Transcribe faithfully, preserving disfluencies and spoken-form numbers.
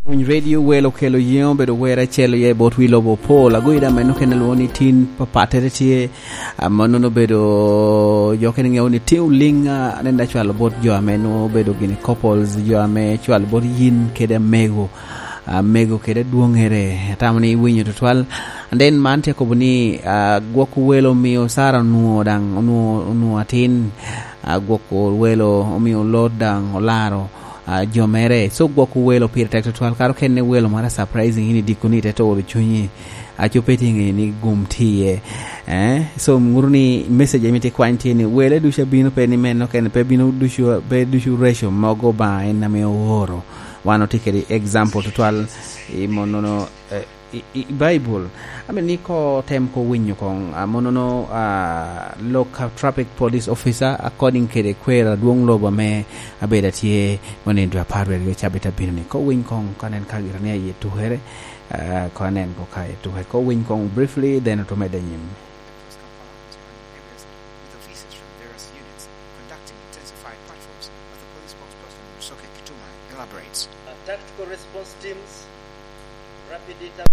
Radio welo kelo yengo bedo wera chelo ye bot wi lobo pol agoida meno kene luwo ni tin papatere tie mano bedo jo kene ng'eyo ni tiu linga nenda chwalo bot jo ameno bedo gini couples jo ame chwalo bot yin kede mego mego kede duong'ere tamo ni winyo tutwal and then man tie kobo ni uh, gwoko welo miyo Sara onuo dang onuo onuo atin uh, gwoko welo omiyo lot dang olaro uh, jomere so gwoko welo pire tek tutwal karo kene welo mara surprising ini dikoni te to chunyi achope tingi ni gum tiye eh so nguru ni message emiti kwantie ni wele dusha bino pe ni meno kene pe bino dushu pe dushu ratio mogo ba en na me oro wano tikeri example tutwal i monono eh, i, i Bible I mean ni ko tem ko winyo kong uh, monono uh, local traffic police officer according kede kwera duong lobo me abeda tie monen dwa parwe go chabita bino ni ko winy kong kanen kagira ni ye tuhere uh, ko anen ko kae tuhere ko winy kong briefly then to mede nyim Across Kampala and surrounding areas, with officers from various units conducting intensified patrols as the police spokesperson Rusoke Kituma elaborates. Uh, tactical response teams, rapid intervention